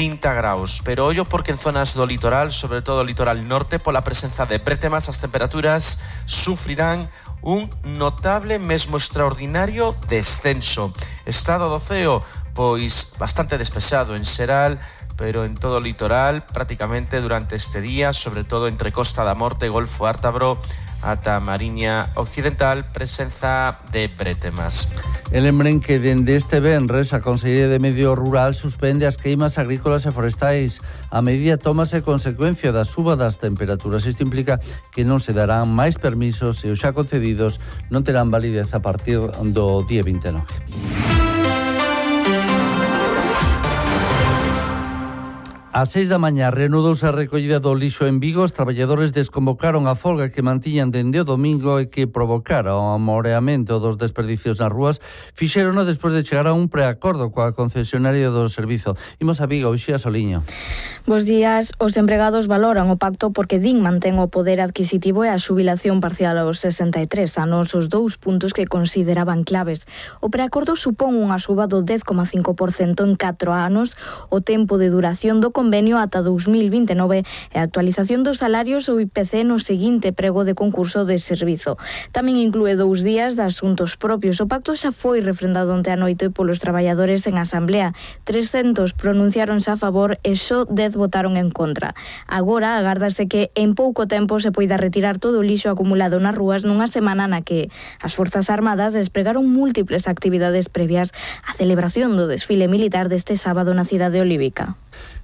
30 graus. Pero ollo porque en zonas do litoral, sobre todo o litoral norte, pola presenza de brétemas, as temperaturas sufrirán un notable, mesmo extraordinario descenso. Estado do ceo, pois bastante despexado en xeral, pero en todo o litoral prácticamente durante este día, sobre todo entre Costa da Morte, Golfo Ártabro ata Mariña Occidental, presenza de brétemas. E lembren que dende este venres a Consellería de Medio Rural suspende as queimas agrícolas e forestais. A medida tómase consecuencia da suba das temperaturas. Isto implica que non se darán máis permisos e os xa concedidos non terán validez a partir do día 29. Ás 6 da mañá reanudouse a recollida do lixo en Vigo. Os traballadores desconvocaron a folga que mantiñan dende o domingo e que provocara o amoreamento dos desperdicios nas rúas. Fixérono despois de chegar a un preacordo coa concesionaria do servizo. Imos a Vigo, Uxía Soliño. Bos días. Os empregados valoran o pacto porque DIN mantén o poder adquisitivo e a xubilación parcial aos 63 anos, os dous puntos que consideraban claves. O preacordo supón unha suba do 10,5% en 4 anos, o tempo de duración do convenio ata 2029 e a actualización dos salarios ou IPC no seguinte prego de concurso de servizo. Tamén inclúe 2 días de asuntos propios. O pacto xa foi refrendado onte a noite polos traballadores en asamblea. 300 pronunciáronse a favor e só 10 votaron en contra. Agora agárdase que en pouco tempo se poida retirar todo o lixo acumulado nas rúas nunha semana na que as Forzas Armadas despregaron múltiples actividades previas á celebración do desfile militar deste sábado na cidade olívica.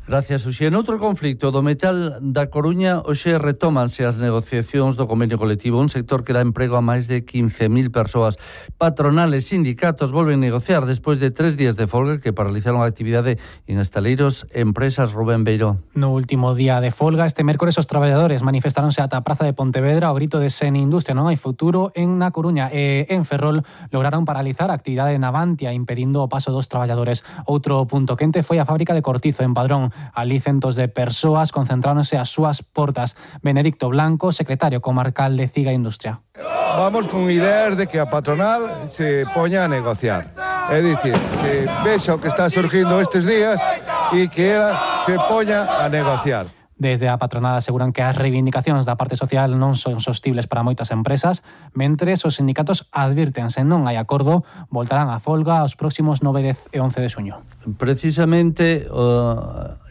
Gracias, Uxía. En outro conflicto do metal da Coruña, hoxe retómanse as negociacións do convenio colectivo, un sector que dá emprego a máis de 15.000 persoas. Patronales e sindicatos volven a negociar despois de 3 días de folga que paralizaron a actividade en estaleiros e empresas. Rubén Beiró. No último día de folga, este mércores, os traballadores manifestaronse ata a Praza de Pontevedra ao grito de sen industria non hai futuro en Na Coruña, e en Ferrol lograron paralizar a actividade en Navantia, impedindo o paso dos traballadores. Outro punto quente foi a fábrica de Cortizo en Padrón. Alí centos de persoas concentráronse ás súas portas. Benedicto Blanco, secretario comarcal de Ciga Industria. Vamos con ideas de que a patronal se poña a negociar. É dicir, que vexa o que está surgindo estes días e que ela se poña a negociar. Desde a patronal aseguran que as reivindicacións da parte social non son sostibles para moitas empresas, mentres os sindicatos advirten se non hai acordo, voltarán a folga os próximos 9, 10 e 11 de xuño. Precisamente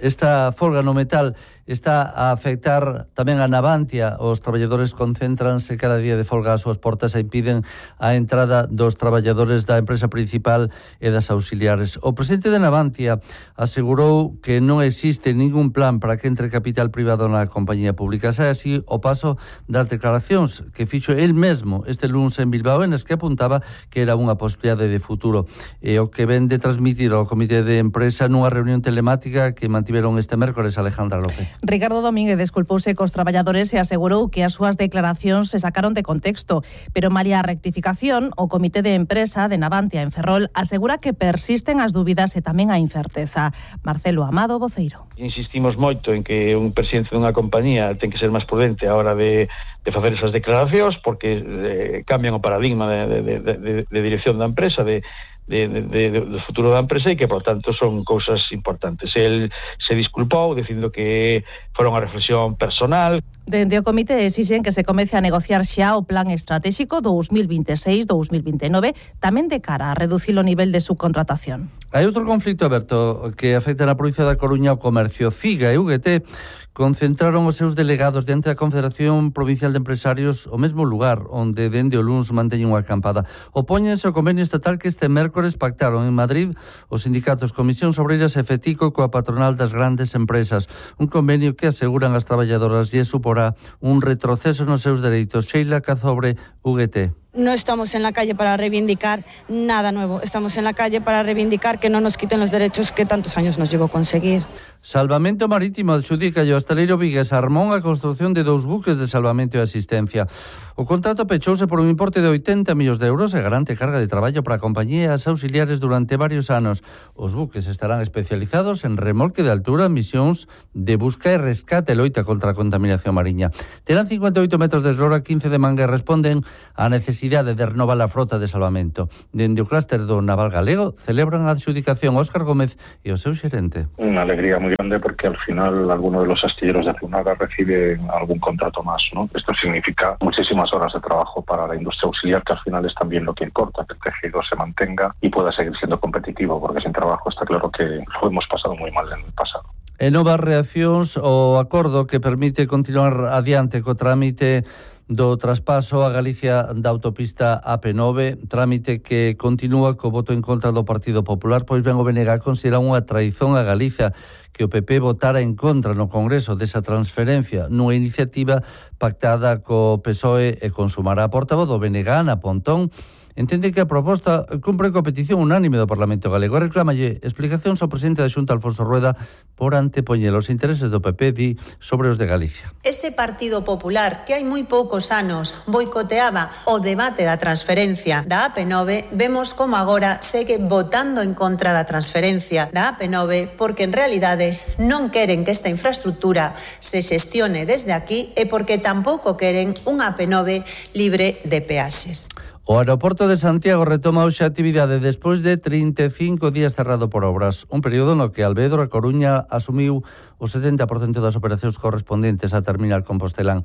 esta folga no metal está a afectar tamén a Navantia. Os traballadores concéntranse cada día de folga ás súas portas e impiden a entrada dos traballadores da empresa principal e das auxiliares. O presidente de Navantia asegurou que non existe ningún plan para que entre capital privado na compañía pública. Xa así o paso das declaracións que fixo el mesmo este lunes en Bilbao, en as que apuntaba que era unha posibilidade de futuro. E o que ven de transmitir ao comité de empresa nunha reunión telemática que mantiveron este mércores Alejandra López. Ricardo Domínguez desculpouse cos traballadores e asegurou que as súas declaracións se sacaron de contexto, pero malia a rectificación, o comité de empresa de Navantia en Ferrol asegura que persisten as dúbidas e tamén a incerteza. Marcelo Amado, voceiro. Insistimos moito en que un presidente dunha compañía ten que ser máis prudente a hora de facer esas declaracións, porque cambian o paradigma de dirección da empresa, do futuro da empresa, e que, por tanto, son cousas importantes. El se disculpou dicindo que fora unha reflexión personal. Dende o comité exixen que se comece a negociar xa o plan estratégico 2026-2029, tamén de cara a reducir o nivel de subcontratación. Hai outro conflicto aberto que afecta na provincia da Coruña o comercio. Figa e UGT concentraron os seus delegados diante da Confederación Provincial de Empresarios o mesmo lugar onde dende o luns manteñen unha acampada. Opóñense ao convenio estatal que este mércores pactaron en Madrid os sindicatos Comisións Obreiras e FETICO coa patronal das grandes empresas. Un convenio que aseguran as traballadoras lle suporá un retroceso nos seus dereitos. Sheila Cazobre, UGT. No estamos en la calle para reivindicar nada nuevo, estamos en la calle para reivindicar que no nos quiten los derechos que tantos años nos llevó a conseguir. Salvamento Marítimo adxudica ao hostaleiro vigués Armón a construción de 2 buques de salvamento e asistencia. O contrato pechouse por un importe de 80 millóns de euros e garante carga de traballo para a compañía e as auxiliares durante varios anos. Os buques estarán especializados en remolque de altura, misións de busca e rescate e loita contra a contaminación mariña. Terán 58 metros de eslora, 15 de manga e responden á necesidade de renovar a frota de salvamento. Dende o clúster do Naval Galego celebran a adxudicación Óscar Gómez e o seu xerente. Unha alegría moi grande porque al final alguno de los astilleros de Zunaga recibe algún contrato más, ¿no? Esto significa muchísimas horas de trabajo para la industria auxiliar, que al final es también lo que importa, que el tejido se mantenga y pueda seguir siendo competitivo, porque sin trabajo está claro que lo hemos pasado muy mal en el pasado. E novas reaccións ao acordo que permite continuar adiante co trámite do traspaso a Galicia da autopista AP9, trámite que continúa co voto en contra do Partido Popular, pois ben o BNG considera unha traición a Galicia que o PP votara en contra no Congreso desa transferencia nunha iniciativa pactada co PSOE e Consumar. A portavoz do BNG, Ana Pontón, entende que a proposta cumpre coa petición unánime do Parlamento galego e reclámalle explicacións ao presidente da Xunta, Alfonso Rueda, por antepoñer os intereses do PP, di, sobre os de Galicia. Ese Partido Popular que hai moi poucos anos boicoteaba o debate da transferencia da AP9, vemos como agora segue votando en contra da transferencia da AP9 porque en realidade non queren que esta infraestructura se xestione desde aquí e porque tampouco queren unha AP9 libre de peaxes. O aeroporto de Santiago retoma hoxe a actividade despois de 35 días cerrado por obras, un período no que Alvedro e Coruña asumiu o 70% das operacións correspondentes a terminal Compostelán.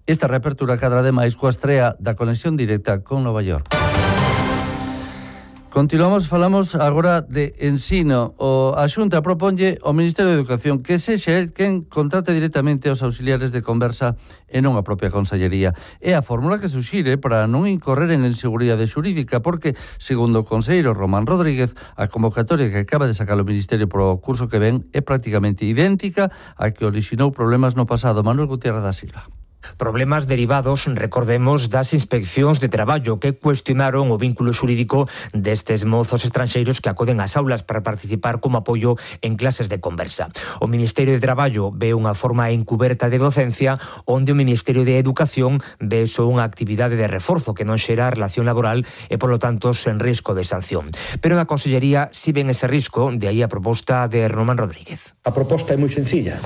Esta reapertura cadra ademais coa estrea da conexión directa con Nova York. Falamos agora de ensino. A Xunta proponlle ao Ministerio de Educación que sexa el quen contrate directamente aos auxiliares de conversa e non a propia Consellería. É a fórmula que suxire para non incorrer en inseguridade xurídica, porque, segundo o conselleiro Román Rodríguez, a convocatoria que acaba de sacar o Ministerio pro curso que ven é prácticamente idéntica a que orixinou problemas no pasado. Manuel Gutiérrez da Silva. Problemas derivados, recordemos, das inspeccións de traballo que cuestionaron o vínculo xurídico destes mozos estranxeiros que acoden ás aulas para participar como apoio en clases de conversa. O Ministerio de Traballo ve unha forma encuberta de docencia, onde o Ministerio de Educación ve só unha actividade de reforzo que non xera relación laboral e, polo tanto, sen risco de sanción. Pero na Consellería si ven ese risco, de aí a proposta de Román Rodríguez. A proposta é moi sencilla.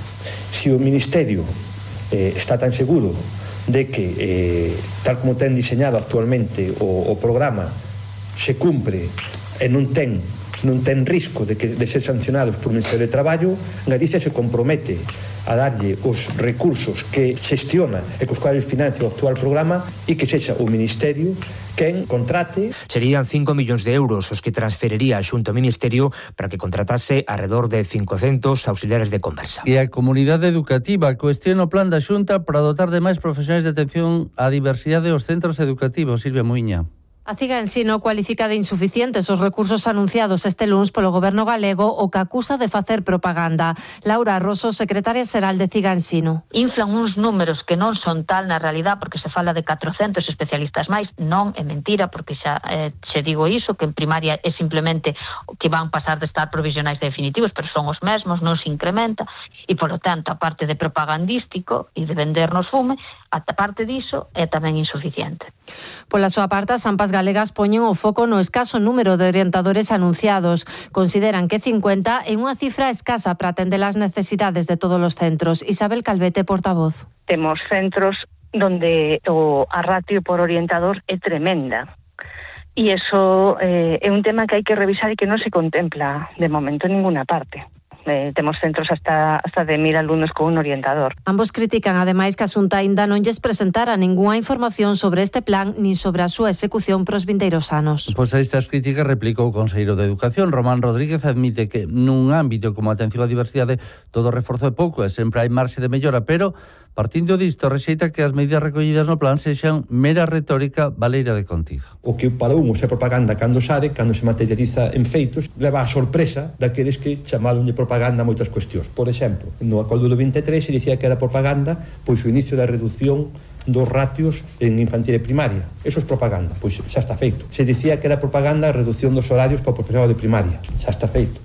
Se o Ministerio está tan seguro de que, tal como ten diseñado actualmente o programa, se cumpre e non ten risco de ser sancionados por o Ministerio de Traballo, Galicia se compromete a darlle os recursos que xestiona e cos cuales financia o actual programa e que sexa o Ministerio quen contrate. Serían 5 millóns de euros os que transferiría a Xunta ao Ministerio para que contratase alrededor de 500 auxiliares de conversa. E a comunidade educativa cuestiona o plan da Xunta para dotar de máis profesionais de atención á diversidade dos centros educativos. Silvia Muiña. A CIGA Ensino cualifica de insuficientes os recursos anunciados este luns polo Goberno galego, o que acusa de facer propaganda. Laura Rosso, secretaria xeral de CIGA Ensino. Inflan uns números que non son tal na realidad, porque se fala de 400 especialistas máis. Non é mentira, porque xa se digo iso, que en primaria é simplemente que van pasar de estar provisionais definitivos, pero son os mesmos, non se incrementa, e polo tanto, a parte de propagandístico e de vendernos fume, a parte diso é tamén insuficiente. Pola súa parte, as AMPAs galegas poñen o foco no escaso número de orientadores anunciados. Consideran que 50 é unha cifra escasa para atender as necesidades de todos os centros. Isabel Calvete, portavoz. Temos centros donde a ratio por orientador é tremenda. E iso é un tema que hai que revisar e que non se contempla de momento en ninguna parte. Temos centros hasta de 1000 alumnos con un orientador. Ambos critican ademais que a Xunta aínda non lles presentara ningunha información sobre este plan nin sobre a súa execución pros vindeiros anos. Pois a estas críticas replicou o conselleiro de Educación. Román Rodríguez admite que nun ámbito como a atención á diversidade todo reforzo é pouco e sempre hai marxe de mellora, pero partindo disto rexeita que as medidas recollidas no plan sexan mera retórica baleira de contido. O que para uns é propaganda cando se materializa en feitos, leva a sorpresa daqueles que chamáronlle propaganda a moitas cuestións. Por exemplo, no acordo do 23 se dicía que era propaganda pois o inicio da reducción dos ratios en infantil e primaria. Eso é propaganda, pois xa está feito. Se dicía que era propaganda a reducción dos horarios para o profesorado de primaria. Xa está feito.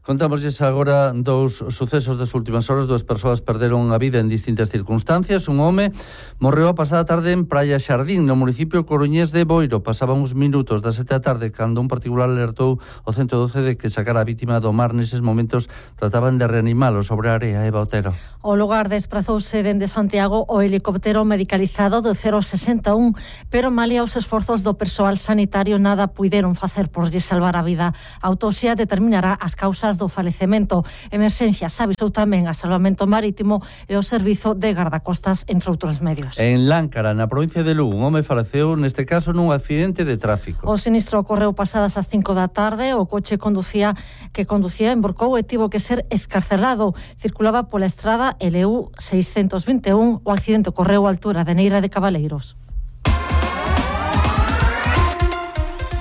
Contámoslles agora dous sucesos das últimas horas. 2 persoas perderon a vida en distintas circunstancias. Un home morreu a pasada tarde en Praia Xardín, no municipio coruñés de Boiro. Pasaban uns minutos das 7 da tarde cando un particular alertou o 112 de que sacara a vítima do mar. Neses momentos trataban de reanimalo sobre a area. Eva Otero. O lugar desprazouse dende Santiago o helicóptero medicalizado do 061, pero malia os esforzos do persoal sanitario nada puideron facer por lle salvar a vida. A autopsia determinará as causas causas do falecemento. Emerxencias avisou tamén a Salvamento Marítimo e o Servizo de Gardacostas, entre outros medios. En Láncara, na provincia de Lugo, un home faleceu neste caso nun accidente de tráfico. O sinistro ocorreu pasadas as 5 da tarde. O coche que conducía emborcou e tivo que ser escarcelado. Circulaba pola estrada LU 621. O accidente ocorreu á altura de Neira de Cabaleiros.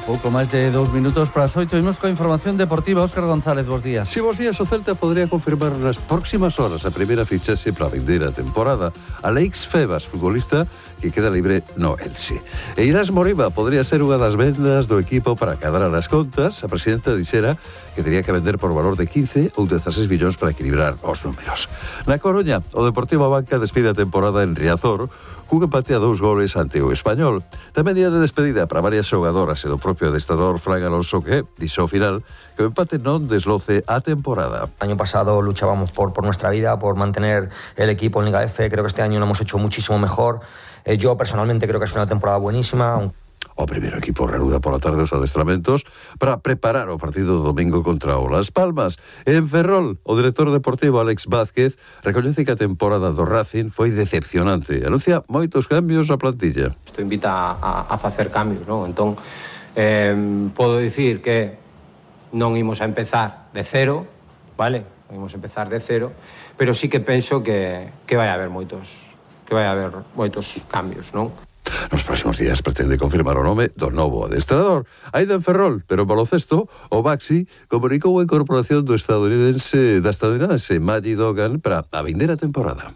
Pouco máis de 2 minutos para as 8. Imos coa información deportiva. Óscar González, bos días. Si, bos días. O Celta podría confirmar nas próximas horas a primeira fichaxe para a vindeira temporada. Alex Febas, futbolista que queda libre no Elche. E Irás Moriba podría ser unha das vendas do equipo para cadrar as contas. A presidenta dixera que tería que vender por valor de 15 ou 16 millóns para equilibrar os números. Na Coruña, o Deportivo Abanca despide a temporada en Riazor cun empate a 2 goles ante o Español. Tamén día de despedida para varias xogadoras e do propio adestrador Fran Alonso, que dixo ao final que o empate non desloce a temporada. El año pasado luchábamos por nuestra vida, por mantener el equipo en Liga F. Creo que este año lo hemos hecho muchísimo mejor. Yo personalmente creo que es una temporada buenísima. O primeiro equipo reanuda pola tarde os adestramentos para preparar o partido do domingo contra o Las Palmas. En Ferrol, o director deportivo Alex Vázquez recoñece que a temporada do Racing foi decepcionante. Anuncia moitos cambios na plantilla. Isto invita a facer cambios, non? Entón, podo dicir que non imos a empezar de cero, vale? Non imos a empezar de cero, pero sí que penso que vai haber moitos cambios, non? Nos próximos días pretende confirmar o nome do novo adestrador. Aínda en Ferrol, pero en baloncesto, o Baxi comunicou a incorporación da estadounidense Maggie Dogan para a vindeira temporada.